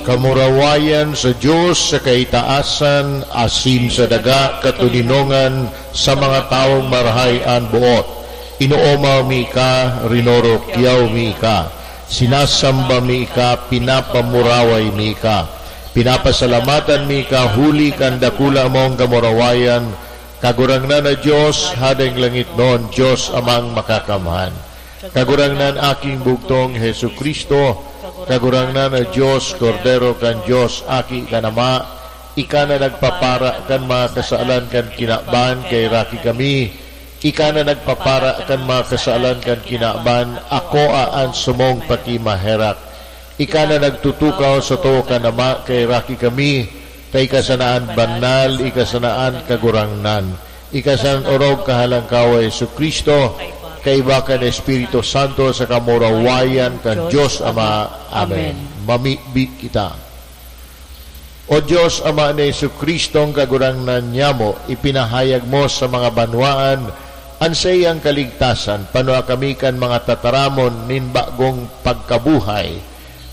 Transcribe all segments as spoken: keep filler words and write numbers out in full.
Kamurawayan sa Dios sa kaitaasan, asin sa daga katoninongan sa mga tawong marahay an boot. Inoomaw mi ka, rinorokyaw mi ka, sinasamba mi ka, pinapamuraway mi ka. Pinapasalamatan mi ka huli kan dakula mong kamurawayan, Kagurangnan na Dios, Hadeng langitnon, Dios Amang Makakamhan. Kagurangnan, Aking bugtong, Jesu-Cristo, Kagurangnan na Dios, Kordero kan Dios, Aki kan Ama, ika na nagpapara kan mga kasalan kan kinaban, kaheraki kami. Ika na nagpapara kan mga kasalan kan kinaban, akoa an sumong pakimaherak. Ika na nagtutukaw sa too kan Ama, kaheraki kami. Ta ika sana an banal, ika sana an Kagurangnan. Ika sana an orog kahalangkaw, Jesu-Cristo, kaiba kan Espiritu Santo, sa kamurawayan kan Dios Ama. Amen. Amen. Mamibi kita. O Dios, Ama ni Jesu-Cristong Kagurangnan nyamo, ipinahayag mo sa mga banwaan an saiyang kaligtasan. Panua kami kan mga tataramon nin bagong pagkabuhay.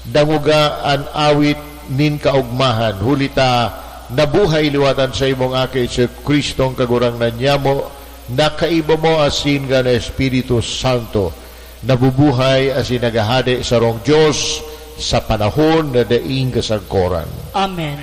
Dangoga an awit nin kaogmahan, huli ta nabuhay liwat an saimong Aki, Jesu-Cristong Kagurangnan nyamo, na kaiba mo asin kan Espiritu Santo, nabubuhay asin naghahade sarong Dios sa panahon na daing kasagkoran. Amen.